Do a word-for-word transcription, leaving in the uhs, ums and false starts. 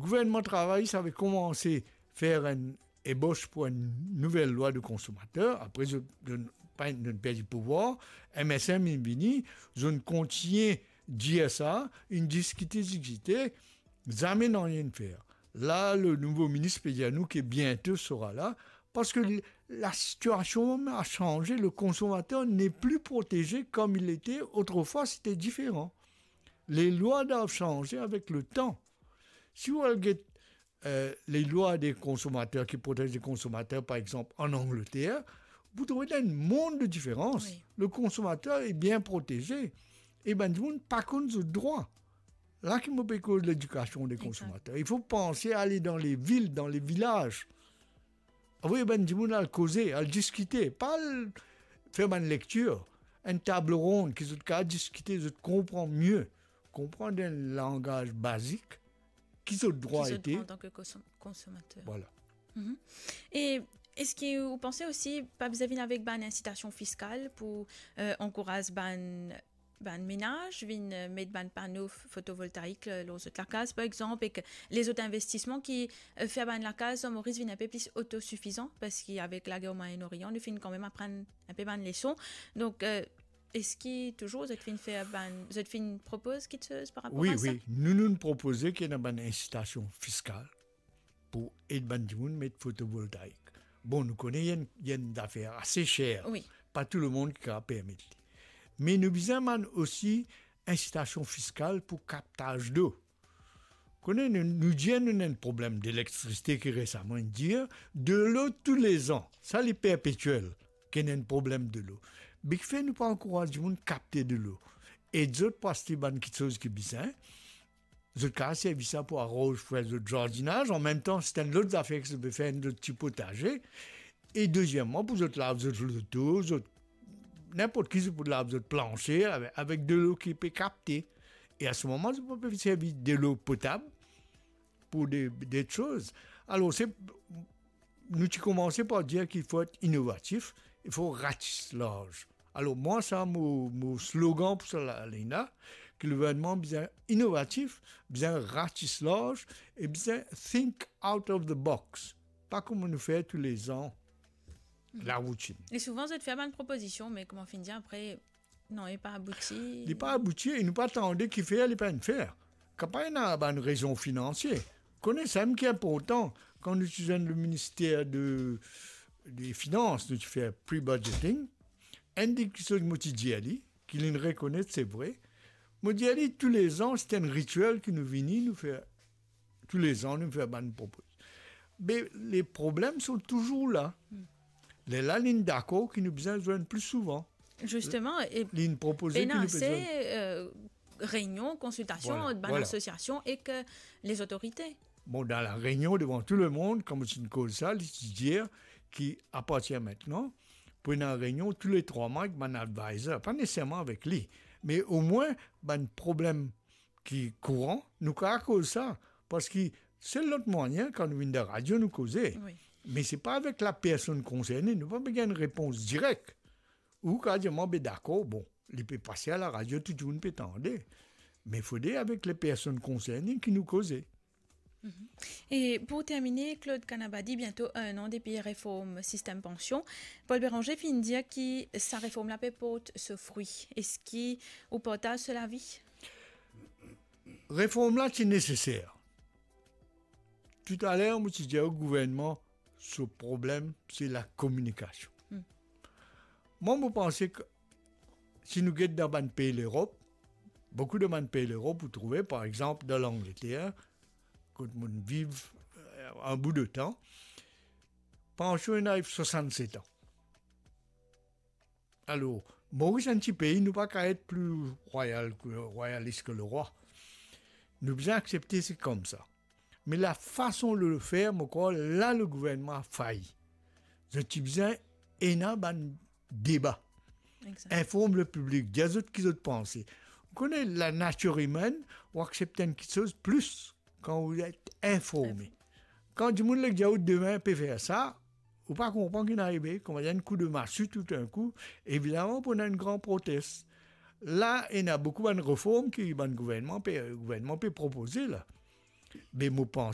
Gouvernman Travay ti ave koumanse fer enn ebos pou enn nouvel lwa de konsomater. Apre, zot, zot, pa, zot perdi pouvwar, M S M inn vini, zot kontigne dir sa, inn diskite, diskite, zame nanye inn fer. La, le nouvo minis pe dir nou ki biento sera la, parski l-, la sitiasion mem a sanze, le konsomater n'est plus protégé comme il était autrefois, c'était différent. Les lois doivent changer avec le temps. Si ou al get, euh, les lois des consommateurs qui protègent les consommateurs, par exemple, en Angleterre, vous trouvez là un monde de différence. Oui. Le consommateur est bien protégé. E bann dimoun pa konn zot drwa. La ki mo pe koz ledikasion de konsomater. Il faut penser à aller dans les villes, dans les villages. Avoy bann dimoun al koze, al diskite, pa al fer bann lektir, enn tab ronn ki zot kapav diskite, zot konpran mie, konpran dan langaz bazik ki zot drwa ete. Ki zot drwa antan ki konsom-, konsomater. Vwala. Mhm. E eski ou panse osi pa bizin vinn avek bann insitasion fiskal pou, euh, ankouraz bann, bann menaz vinn, euh, met bann pano f-, fotovoltaik, euh, lor zot lakaz, par exanp, ek lezot investisman ki, euh, fer bann lakaz an Moris vinn inpe plis otosifizan, parski avek lager Moyen-Orient, nou finn kanmem aprann inpe bann leson. Donk, euh, eski touzour zot finn fer bann, zot finn propoz kiksoz par rapor a sa? Wi, wi. Nou, nou propoze ki ena bann insitasion fiskal pou ed bann dimoun met fotovoltaik. Bon, nou kone, li enn, li enn zafer ase ser. Wi. Pa tou lemonn ki kapav permet li. Me nou bizin bann osi insitasion fiskal pou kaptaz dlo. Kone, nou, nou dir nou ena enn problem delektrisite ki resaman inn dir, delo toulezan, sa li perpetiel, ki ena enn problem delo. Be kifer nou pa ankouraz dimoun kapte delo, ed zot pou aste bann kiksoz ki bizin, zot kapav servi sa pou aranz, fer zot zardinaz, anmemtan, se enn lot zafer ki zot pe fer, enn lot ti potaze. E dezieman, pou zot lav zot loto, zot, ninport ki, zot pou lav zot planse avek, avek delo ki pe kapte. E a se moman, zot pou pe servi delo potab pou de, de soz. Alor, se, nou ti koumanse par dir ki fo et inovatif, i fo ratis larz. Alor, mwa, sa mo, mo slogan pou sa la, la, ki gouvernman bizin inovatif, bizin ratis larz e bizin think out of the box. Pa kouma nou fer toulezan, laroutin. E souvan, zot fer bann propozision, me kouma finn dir apre, non, li pa abouti. Li pa abouti e nou pa tande kifer li pa'nn fer. Kapav ena bann rezon finansie. Kone samem ki inportan, kan nou ti zwenn le minister de, de finans, nou ti fer pre-budgeting, enn de kiksoz mo ti dir li, ki linn rekonet, se vre. Mo dir li, toulezan, se enn ritiel ki nou vini, nou fer, toulezan, nou fer bann propoz. Me le problem sont toujours là. Hmm. Lerla, linn dakor ki nou bizin zwenn pli souvan. Zisteman, e linn propoze ki pena nou ase, bizin, euh, reynion, konsiltasion, vwala, ant bann, vwala, asosiasion ek, euh, lezotorite. Bon, dan la reynion devan tou lemonn, kan mo ti koz sa, li ti dir ki apartir aster, pou ena reynion tou le trwa mwa ek bann advisor, pa neseserman avek li, me omwin bann problem ki kouran, nou kapav koz sa, parski sel lot mwayin, kan nou vinn dan radio, nou koze. Wi. Me se pa avek lapersonn konserne, nou pa pe gagn repons direk. Ou kapav dir, mwa, be dakor, bon, li pe pase a laradio, tou dimoun pe tande. Me fode avek lepersonn konserne ki nou koze. Mhm. E pou termine, Claude Kanabadi, biento enn an depi reform sistem pansion. Paul Bérenger finn dir ki sa reform la pe port so frwi. Eski ou partaz so lavi? Reform la ti neseser. Toutaler, mo ti dir o gouvernman, so problem, se lakominikasion. Hmm. Mwa, mo panse ki si nou get dan bann pei Lerop, boukou de bann pei Lerop, ou trouve, par exanp, dan Langleter, kot mo viv, euh, enn bout de tan, pansion inn ariv swasannset an. Alor, Moris enn ti pei, nou pa kapav et pli rwayal ki, rwayalis ki lerwa. Nou bizin aksepte se koumsa. Me lafason de le fer, mo krwar, la le gouvernman a fay. Zot ti bizin ena bann deba. Exact. Inform le piblik, dir zot ki zot panse. Ou kone, lanatir imenn, ou aksepte enn kiksoz plis kan ou et informe. Informe. Kan dimoun leg dir ou demin pe fer sa, ou pa konpran ki inn arive, kouma enn kou de masi toudenkou, evidaman pou ena enn gran protes. La, ena boukou bann reform ki bann gouvernman pe, gouvernman pe propoze la. Me mo panse